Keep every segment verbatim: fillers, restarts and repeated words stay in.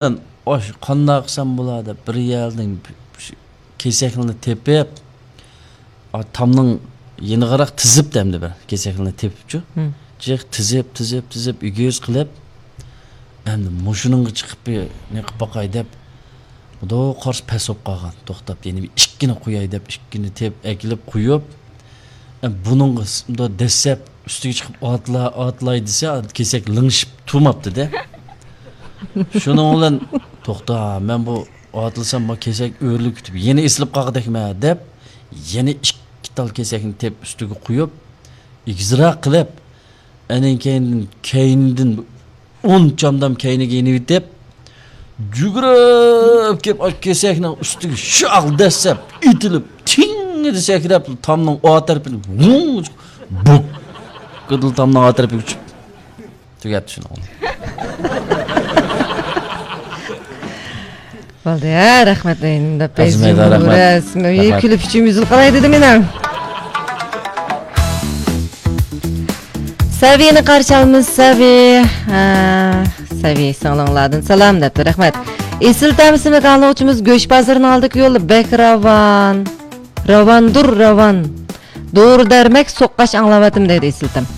ئاش قانداق قىلسام بولا دەپ بىر يەردىن كېسەكنى تېپىپ، ئا، تامنىڭ يېنىغىراق تىزىپ، ئەمدى بىر كېسەكنى تېپىپچۇ. ھىم. جىق تىزىپ، تىزىپ، تىزىپ، ئېگىز قىلىپ، ئەمدى مۇشۇنىڭغا چىقىپ بىر نېقىپ باقاي دەپ، مۇنداق قارىسا پەس بولۇپ قالغان. توختاپ، يەنە بىر ئىككىنى قوياي دەپ، ئىككىنى تېپىپ ئەكېلىپ قويۇپ، ئە، بۇنىڭغا س-، مۇنداق دەسسەپ، ئۈستىگە چىقىپ ئاتلا-، ئاتلاي دېسە، كېسەك لىڭشىپ تۇرماپتۇ-دە. شۇنىڭ بىلەن، توختا، مەن بۇ ئاتلىسام، بۇ كېسەك ئۆرۈلۈپ كېتىپ، يەنە ئېسىلىپ قالغۇدەكمەن دەپ، يەنە ئىككى تال كېسەكنى تېپىپ ئۈستىگە قويۇپ، ئېگىزراق قىلىپ، ئەنىڭ كەينىدىن، كەينىدىن ئون چامدام كەينىگە يېنىۋېتىپ، يۈگۈرۈپ كېلىپ، ئاشۇ كېسەكنىڭ ئۈستىگە شاق دەسسەپ، ئېتىلىپ، تىڭىدە سەكرەپ، تامنىڭ ئا تەرىپىدىن ۋۇڭ، بۇك، گىدىل تامنىڭ ئا تەرىپىگە ئۇچۇپ تۈگەپتۇ شۇنىڭ. بولدى، ھە، رەھمەت، ئەزمەيدە، رەھمەت. رەسمىي رەھمەت. كۈلۈپ ئۈچۈم يۈزۈل قالاي دېدىم مېنىڭ. سەۋىنى قارشى ئالىمىز، سەۋى. ھە، سەۋى سىڭلىڭلاردىن سالام دەپتۇ، رەھمەت. ئېسىل تەم ئىسىملىك ئاڭلىغۇچىمىز گۆش بازىرىنىڭ ئالدىدىكى يول بەك راۋان. راۋاندۇر، راۋان. دورا دەرمەك سوققاچ ئاڭلاۋاتىمەن دەيدۇ ئېسىل تەم.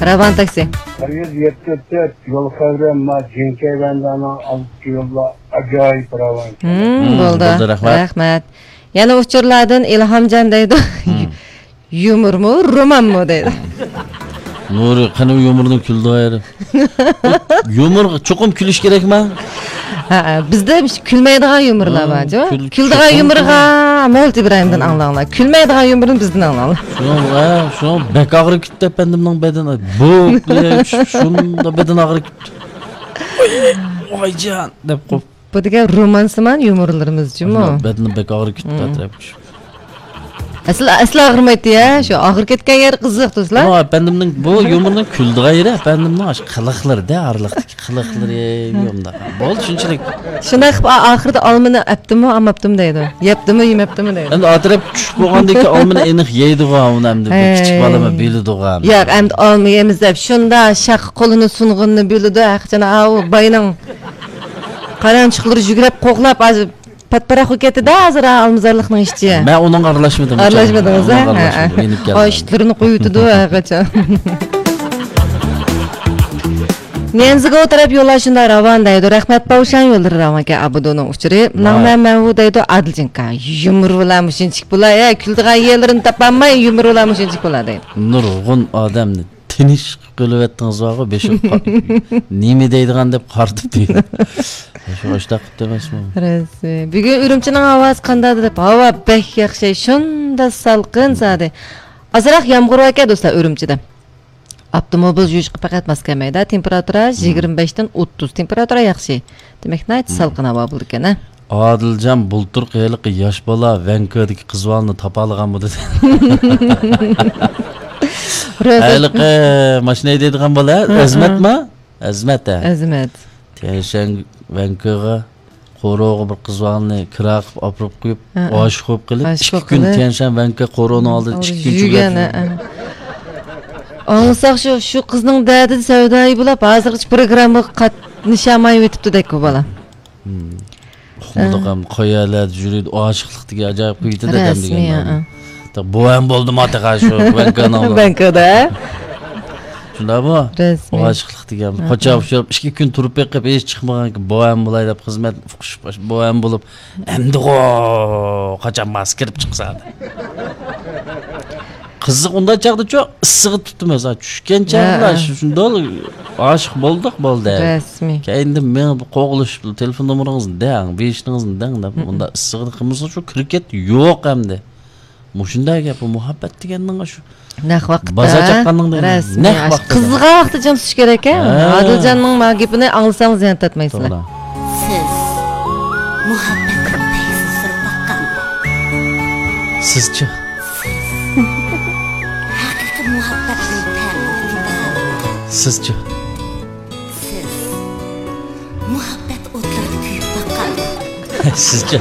راۋان تاكسى. بىر يۈز يەتتە تۆت يول خەۋىرى، ما جىنكەي ۋەندانىڭ ئالدىدىكى يوللار ئاجايىپ راۋان. ھىم، ھىم، بولدى. بولدى، رەھمەت. رەھمەت. يەنە ئۇچۇرلاردىن ئىلھامجان دەيدۇ. ھىم. يۇمۇرمۇ، رومانمۇ دەيدۇ. نۇرى، قېنى يۇمۇرنىڭ كۈلىدىغان يېرى؟ يۇمۇر چوقۇم كۈلۈش كېرەكما؟ ھە، بىزدە كۈلمەيدىغان يۇمۇرلار بار، ھە، جۇ. كۈل-، كۈلىدىغان چوقۇم يۇمۇرغا مولت ئىبراھىمدىن ئاڭلاڭلار. كۈلمەيدىغان يۇمۇرنى بىزدىن ئاڭلاڭلار. شۇنىڭ، ھە، شۇنىڭ بەك ئاغرىپ كېتىپتۇ ئەپەندىمنىڭ بەدىنى. بۇ، شۇنداق بەدىنى ئاغرىپ كېتىپتۇ. ۋاي، ۋايجان دەپ قوپ. بۇ دېگەن رومانسىمان يۇمۇرلىرىمىز جۇمۇ. بەدىنى بەك ئاغرىپ كېتىپتۇ، ھىم. ئەتراپقا چۈشۈپ. ئەسلى، ئەسلى ئاغرىمايتتى يا، شۇ ئاغرىپ كەتكەن يەر قىزىق دوستلار. ئۇ ئەپەندىمنىڭ، بۇ يۇمۇرنىڭ كۈلىدىغان يېرى ئەپەندىمنىڭ ئاشۇ قىلىقلىرىدە، ئارىلىقتىكى قىلىقلىرى، ھە. يۇمدا. بولدى، شۇنچىلىك. شۇنداق قىلىپ، ئا-، ئاخىرىدا ئالمىنى ئەپتىمۇ، ئالماپتىمۇ دەيدۇ. يەپتىمۇ، يېمەپتىمۇ دەيدۇ. ئەمدى ئەتراپقا چۈشۈپ بولغاندىن كېيىن ئالمىنى ئېنىق يەيدىغۇ، ئۇنى ئەمدى بىر كىچىك ھەي. بالىمۇ بىلىدىغۇ ئەمدى. ياق، ئەمدى ئالما يەيمىز دەپ، شۇنداق شاخقا قولىنى سۇنغىنىنى بىلىدۇ، ھەقىچان ئاۋۇ باينىڭ قارانچۇقلىرى يۈگرەپ قوغلاپ، ھازىر پاتپاراق بولۇپ كەتتى-دە، ھازىر ھا، ئالمىزارلىقنىڭ ئىچى. مەن ئۇنىڭغا ئارىلاشمىدىم. ئارىلاشمىدىڭىز، ھە؟ ئۇنىڭغا ھە، ئارىلاشمىدىم. ھە. يېنىپ كەلدىم. ئاشلىرىنى قويۇۋېتىدۇ ھەقىچان. نيەنزىگو تەرەپ يوللار شۇنداق راۋان دەيدۇ. رەھمەت، باۋشاڭ يوللىرى راۋانكەن. ئابىدۇنىڭ ئۇچۇرى. ۋاي. ناڭمەن مەنۋۇ دەيدۇ. ئادىلجىنكا. يۇمۇر بىلەن مۇشۇنچىك بولا. ھە، كۈلىدىغان يەرلىرىنى تاپالماي، يۇمۇر بىلەن مۇشۇنچىك بولا دەيدۇ. نۇرغۇن ئادەمنى تىنچ قىلىۋەتتىڭىز بارغۇ، بېشىم قا-، نېمە دەيدىغان دەپ قارىتىپ دېدى. شۇ ئاشتاق قىپتۇ ئەمەسمۇ؟ رەسمىي. بۈگۈن ئۈرۈمچىنىڭ ھاۋاسى قانداق دەپ، ھاۋا بەك ياخشى، شۇنداق سالقىن زادى. ئازراق يامغۇر باركەن دوستلار ئۈرۈمچىدە. ئاپتوموبىل يۈرۈشكە پەقەت ماس كەلمەيدۇ. تېمپېراتۇرا يىگىرمە بەشتىن ئوتتۇز. تېمپېراتۇرا ياخشى. دېمەك، ناھايىتى سالقىن ھاۋا بولىدىكەن، ھە؟ ئادىلجان بۇلتۇرقى ھېلىقى ياش بالا ۋەنكۆدىكى قىز بالىنى تاپالىغانمۇ دېدى. ھېلىقى ماشىنا ھەيدەيدىغان بالا، ھە، ئەزمەتما؟ ئەزمەت، ھە. ئەزمەت. تيەنشەن ۋەنكۆغا قورۇغا بىر قىز بالىنى كىرا قىلىپ ئاپىرىپ قويۇپ، ھە، ھە. ئاشىق بولۇپ قېلىپ، ئاشىق ئىككى بولۇپ كۈن قېلىپ. تيەنشەن ۋەنكۆ قورۇنىڭ ئالدىدا ئىككى كۈن يۈرگەن، چۆگەپ ھە، ھە. ئاڭلىساق شۇ، شۇ قىزنىڭ دەردىدە سەۋدايى بولاپ، ھازىرغىچە پروگراممىغا قاتنىشالمايۋېتىپتۇ دەك بۇ بالا. ھىم. ئۇقمىدۇق ھەم، قايەرلەردە يۈرىدۇ، ئاشىقلىق دېگەن ئاجايىپ قۇيىدۇ دەدەم رەسمىي، دېگەن. ھە. بۇ ھەم بولدىما تېخى شۇ ۋەنكۆنىڭ. ۋەنكۆدە. شۇنداقمۇ؟ رەسمىي. ئاشىقلىق دېگەن. ھە، قاچان ھە. ئۇچراپ، ئىككى كۈن تۇرۇپ بېقىپ، ھېچ چىقمىغانكەن، بۇ ھەم بولاي دەپ خىزمەت ئۇقۇشۇپ، بۇ ھەم بولۇپ، ئەمدىغۇ قاچان ماس كىرىپ چىقسا. قىزىق ئۇنداق چاغدىچۇ ئىسسىغا تۇتتۇم ئەزا. چۈشكەن چاغدا ھە، ھە. شۇ-، شۇنداق ئاشىق بولدۇق، بولدى. رەسمىي. كەينىدىن مېڭىپ قوغلىشىپ، تېلېفون نومۇرىڭىزنى دەڭ، بېيىشنىڭىزنى دەڭ دەپ، ھە، ھە. ئۇنداق ئىسسىغىدا قىلمىسا شۇ كىركەت يوق ئەمدى. مۇشۇنداق گەپ، بۇ مۇھەببەت دېگەننىڭ شۇ نەق ۋاقىتتا. بازار چاققاننىڭ دېگىنى. رەسمىي. نەق ۋاقتىدا. قىزغان ۋاقتىدا جىم تۇتۇش كېرەك، ھە؟ ھە. ئادىلجاننىڭ ما گېپىنى ئاڭلىساڭلار زىيان تارتمايسىلەر. توغرا. سىز مۇھەببەتنىڭ پەيزىنى سۈرۈپ باققانمۇ؟ سىزچە؟ سىز ھەقىقىي مۇھەببەتنىڭ تەمىنى تېتىغانمۇ؟ سىزچە؟ سىز مۇھەببەت ئوتلىرىدا كۆيۈپ باققانمۇ؟ سىزچە؟